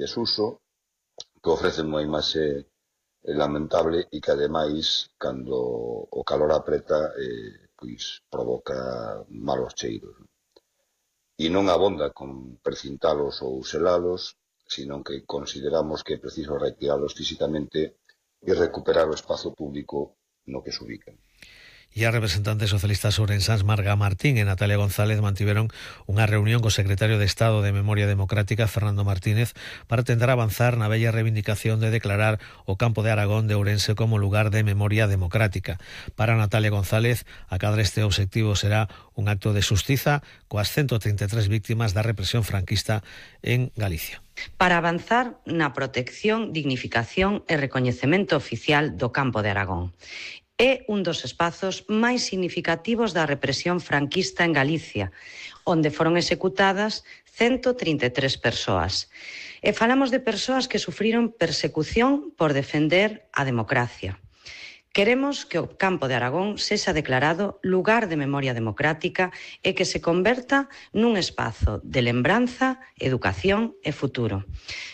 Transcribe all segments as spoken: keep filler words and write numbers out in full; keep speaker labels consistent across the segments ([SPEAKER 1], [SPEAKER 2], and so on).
[SPEAKER 1] desuso, que ofrecen unha imaxe lamentable e que ademais, cando o calor apreta, eh, pois provoca malos cheiros. E non abonda con precintalos ou selalos, sino que consideramos que é preciso retiralos físicamente e recuperar o espazo público no que se ubican.
[SPEAKER 2] E as representantes socialistas ourensás Marga Martín e Natalia González mantiveron unha reunión co secretario de Estado de Memoria Democrática, Fernando Martínez, para tentar avanzar na bella reivindicación de declarar o Campo de Aragón de Ourense como lugar de memoria democrática. Para Natalia González, acadar este obxectivo será un acto de xustiza coas ciento treinta e tres víctimas da represión franquista en Galicia.
[SPEAKER 3] Para avanzar na protección, dignificación e recoñecemento oficial do Campo de Aragón. É un dos espazos máis significativos da represión franquista en Galicia, onde foron executadas ciento trinta e tres persoas. E falamos de persoas que sufriron persecución por defender a democracia. Queremos que o Campo de Aragón sexa declarado lugar de memoria democrática e que se converta nun espazo de lembranza, educación e futuro.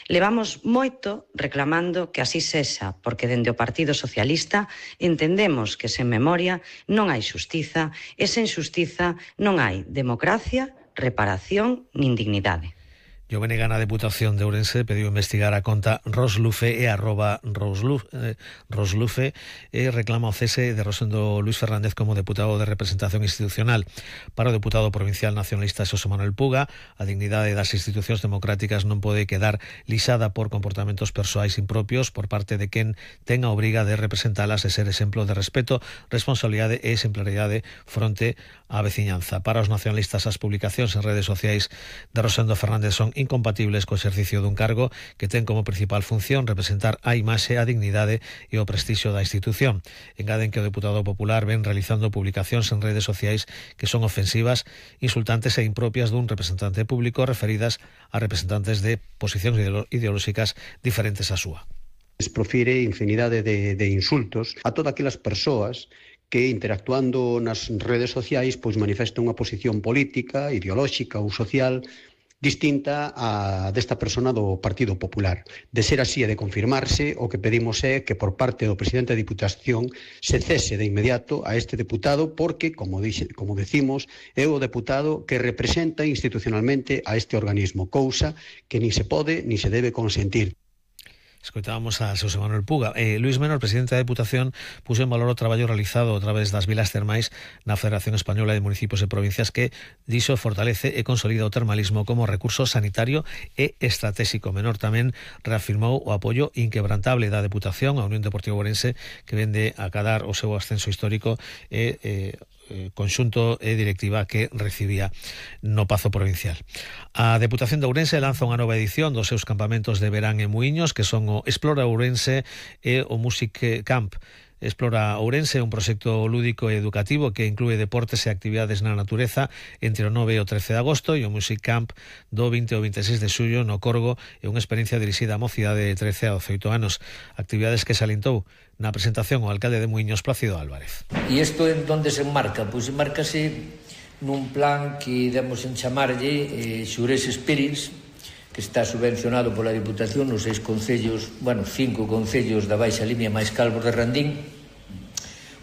[SPEAKER 3] Levamos moito reclamando que así sexa, porque dende o Partido Socialista entendemos que sen memoria non hai xustiza e sen xustiza non hai democracia, reparación nin dignidade.
[SPEAKER 2] Jovene Gana, Deputación de Ourense, pediu investigar a conta Roslufe e arroba Roslufe, eh, Roslufe e reclama o cese de Rosendo Luis Fernández como deputado de representación institucional. Para o deputado provincial nacionalista Xosé Manuel Puga, a dignidade das institucións democráticas non pode quedar lixada por comportamentos persoais impropios por parte de quen ten a obriga de representalas e ser exemplo de respeto, responsabilidade e exemplaridade fronte á veciñanza. Para os nacionalistas, as publicacións en redes sociais de Rosendo Fernández son incompatibles co exercicio dun cargo que ten como principal función representar a imaxe, a dignidade e o prestixio da institución. Engaden que o deputado popular ven realizando publicacións en redes sociais que son ofensivas, insultantes e impropias dun representante público referidas a representantes de posicións ideolóxicas diferentes á súa.
[SPEAKER 4] Profire infinidade de, de insultos a todas aquelas persoas que interactuando nas redes sociais pois manifestan unha posición política, ideolóxica ou social distinta a desta persona do Partido Popular. De ser así e de confirmarse, o que pedimos é que por parte do presidente da Diputación se cese de inmediato a este deputado porque, como, dixe, como decimos, é o deputado que representa institucionalmente a este organismo, cousa que ni se pode ni se debe consentir.
[SPEAKER 2] Escoitábamos a Xosé Manuel Puga. Eh, Luís Menor, presidente da Deputación, puxo en valor o traballo realizado a través das vilas termais na Federación Española de Municipios e Provincias que, dixo, fortalece e consolida o termalismo como recurso sanitario e estratégico. Menor tamén reafirmou o apoio inquebrantable da Deputación á Unión Deportiva Ourense, que vende a acadar o seu ascenso histórico e eh, conxunto e directiva que recibía no Pazo Provincial. A Deputación de Ourense lanza unha nova edición dos seus campamentos de verán e muiños, que son o Explora Ourense e o Music Camp. Explora Ourense é un proxecto lúdico e educativo que inclúe deportes e actividades na natureza entre o nove e o trece de agosto, e o Music Camp do vinte ao veintiséis de xullo no Corgo é unha experiencia dirixida a mocidade de trece a dezaoito anos. Actividades que salientou na presentación o alcalde de Muiños, Plácido Álvarez.
[SPEAKER 5] E isto en donde se enmarca? Pois enmárcase nun plan que demos en chamarlle eh, Xures Spirits, que está subvencionado pola Diputación nos seis concellos, bueno, cinco concellos da Baixa Limia máis Calvos de Randín,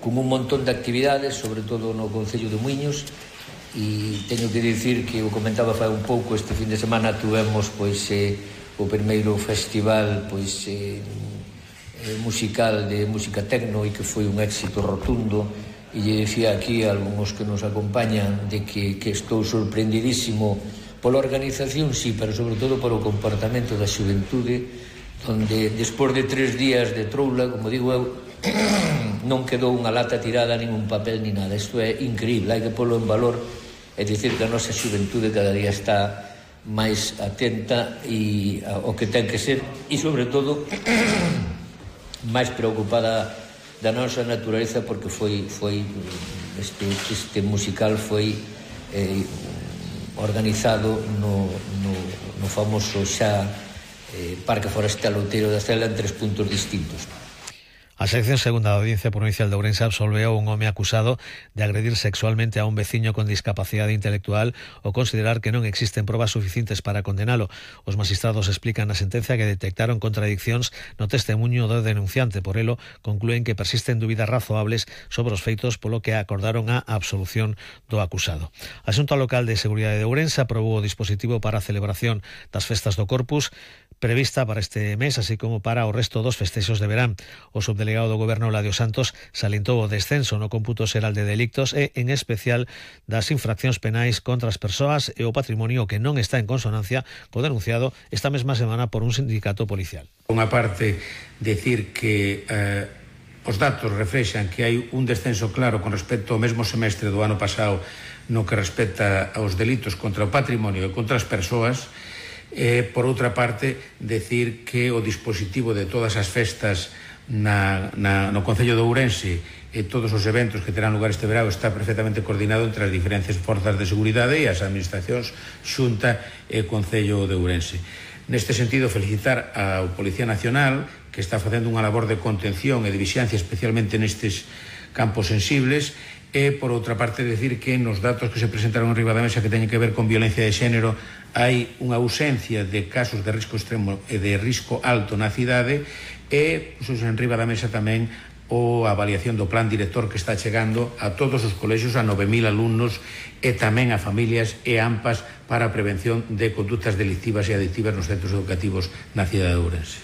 [SPEAKER 5] con un montón de actividades, sobre todo no concello de Muiños, e teño que dicir que o comentaba fai un pouco, este fin de semana tuvemos pois eh, o primeiro festival pois eh, musical de música tecno e que foi un éxito rotundo, e lle dicía aquí a algúns que nos acompañan de que, que estou sorprendidísimo pola organización, sí, pero sobre todo polo comportamento da xuventude, onde despois de tres días de troula, como digo eu, non quedou unha lata tirada, nin un papel, nin nada. Isto é increíble, hai que polo en valor e dicir que a nosa xuventude cada día está máis atenta e ao que ten que ser, e sobre todo máis preocupada da nosa natureza, porque foi, foi este, este musical foi eh, organizado no, no, no famoso xa eh, Parque Forestal Outeiro da Cela en tres puntos distintos.
[SPEAKER 2] A sección segunda da Audiencia Provincial de Ourense absolveu un home acusado de agredir sexualmente a un veciño con discapacidade intelectual ou considerar que non existen probas suficientes para condenalo. Os magistrados explican na sentencia que detectaron contradiccións no testemunho do denunciante. Por elo, conclúen que persisten dúbidas razoables sobre os feitos, polo que acordaron a absolución do acusado. A Xunta Local de Seguridade de Ourense aprobou o dispositivo para a celebración das festas do Corpus prevista para este mes, así como para o resto dos festexos de verán. O subdelegado do Goberno, Ladio Santos, salientou o descenso no cómputo xeral de delictos e, en especial, das infraccións penais contra as persoas e o patrimonio, que non está en consonancia co denunciado esta mesma semana por un sindicato policial.
[SPEAKER 6] Unha parte, decir que eh, os datos reflexan que hai un descenso claro con respecto ao mesmo semestre do ano pasado no que respecta aos delitos contra o patrimonio e contra as persoas. E, por outra parte, decir que o dispositivo de todas as festas na, na, no Concello de Ourense e todos os eventos que terán lugar este verão está perfectamente coordinado entre as diferentes forzas de seguridade e as administracións Xunta e Concello de Ourense. Neste sentido, felicitar ao Policía Nacional, que está facendo unha labor de contención e de vixiancia especialmente nestes campos sensibles. E, por outra parte, decir que nos datos que se presentaron en riba da mesa que teñen que ver con violencia de xénero hai unha ausencia de casos de risco extremo e de risco alto na cidade e, pues, en riba da mesa tamén o avaliación do plan director que está chegando a todos os colexios, a nove mil alumnos e tamén a familias e AMPAs para a prevención de conductas delictivas e adictivas nos centros educativos na cidade de Ourense.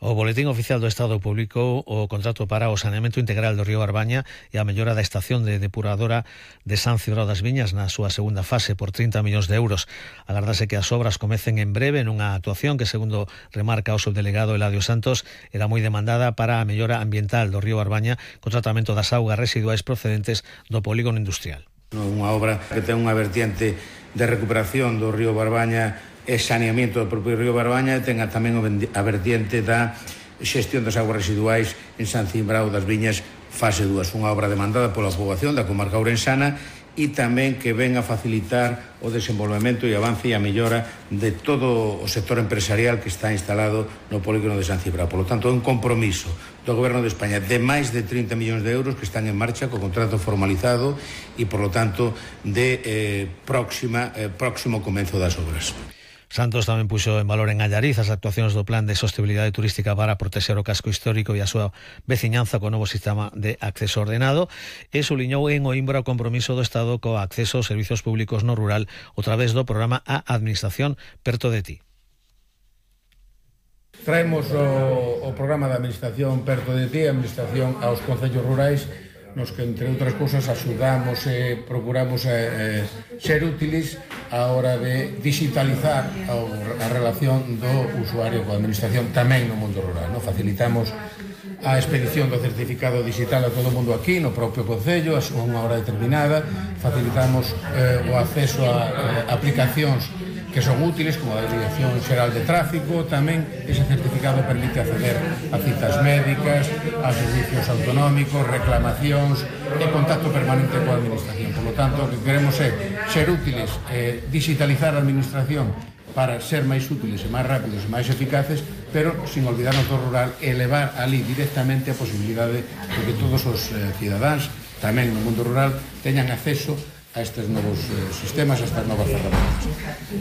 [SPEAKER 2] O Boletín Oficial do Estado publicou o contrato para o saneamento integral do río Barbaña e a mellora da estación de depuradora de San Cibrao das Viñas na súa segunda fase por trinta millóns de euros. Agardase que as obras comecen en breve nunha actuación que, segundo remarca o subdelegado Eladio Santos, era moi demandada para a mellora ambiental do río Barbaña co tratamento das augas residuais procedentes do polígono industrial.
[SPEAKER 6] Unha obra que ten unha vertiente de recuperación do río Barbaña e saneamento do propio río Barbaña, e ten tamén a vertiente da xestión das aguas residuais en San Cibrao das Viñas fase dúas, unha obra demandada pola poboación da comarca ourensana e tamén que ven a facilitar o desenvolvemento e avance e a mellora de todo o sector empresarial que está instalado no polígono de San Cibrao. Por lo tanto, é un compromiso do Goberno de España de máis de trinta millóns de euros que están en marcha co contrato formalizado e, por lo tanto, de eh, próxima, eh, próximo comenzo das obras.
[SPEAKER 2] Santos tamén puxo en valor en Allariz as actuacións do Plan de Sostenibilidade Turística para protexer o casco histórico e a súa veciñanza co novo sistema de acceso ordenado e suliñou en Oimbra o compromiso do Estado co acceso aos servizos públicos no rural a través do programa A Administración Perto de Ti.
[SPEAKER 6] Traemos o, o programa de Administración Perto de Ti, a administración aos concellos rurais, nos que, entre outras cousas, axudamos e procuramos eh, ser útiles a hora de digitalizar a relación do usuario coa administración tamén no mundo rural. No? Facilitamos a expedición do certificado digital a todo o mundo aquí, no propio concello, a unha hora determinada. Facilitamos eh, o acceso a eh, aplicacións que son útiles, como a Dirección Xeral de Tráfico. Tamén ese certificado permite acceder a citas médicas, a servicios autonómicos, reclamacións e contacto permanente coa administración. Por lo tanto, o que queremos é ser útiles, eh, digitalizar a administración para ser máis útiles e máis rápidos e máis eficaces, pero sin olvidarnos do rural e elevar ali directamente a posibilidade de que todos os eh, cidadáns, tamén no mundo rural, teñan acceso a estes novos eh, sistemas, a estas novas ferramentas.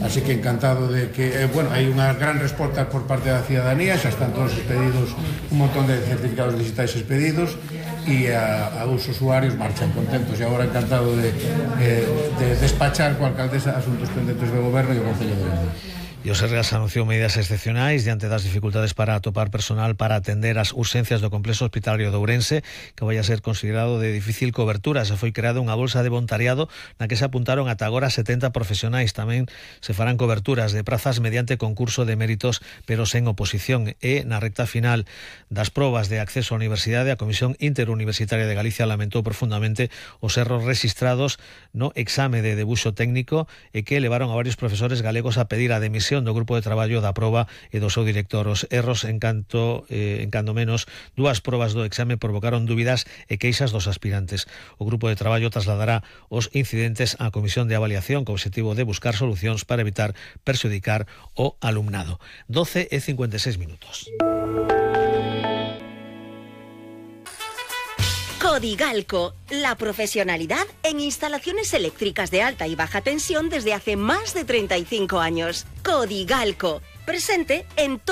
[SPEAKER 6] Así que encantado de que, eh, bueno, hai unha gran resposta por parte da cidadanía, xa están todos expedidos, un montón de certificados digitais expedidos, e a, a os usuarios marchan contentos, e agora encantado de, eh, de despachar coa alcaldesa asuntos pendentes do goberno e o Concello de Ourense.
[SPEAKER 2] E o Sergas anunciou medidas excepcionais diante das dificultades para atopar personal para atender as urxencias do complexo hospitalario de Ourense, que vai a ser considerado de difícil cobertura. Se foi creada unha bolsa de voluntariado na que se apuntaron ata agora setenta profesionais. Tamén se farán coberturas de prazas mediante concurso de méritos, pero sen oposición. E na recta final das probas de acceso á universidade, a Comisión Interuniversitaria de Galicia lamentou profundamente os erros rexistrados no exame de debuxo técnico e que levaron a varios profesores galegos a pedir a demisión do grupo de traballo da proba e do seu director. Os erros en canto, eh, en cando menos dúas probas do exame provocaron dúbidas e queixas dos aspirantes. O grupo de traballo trasladará os incidentes á Comisión de Avaliación co obxectivo de buscar solucións para evitar perxudicar o alumnado. doce e cincuenta e seis minutos.
[SPEAKER 7] Codigalco, la profesionalidad en instalaciones eléctricas de alta y baja tensión desde hace más de treinta y cinco años. Codigalco, presente en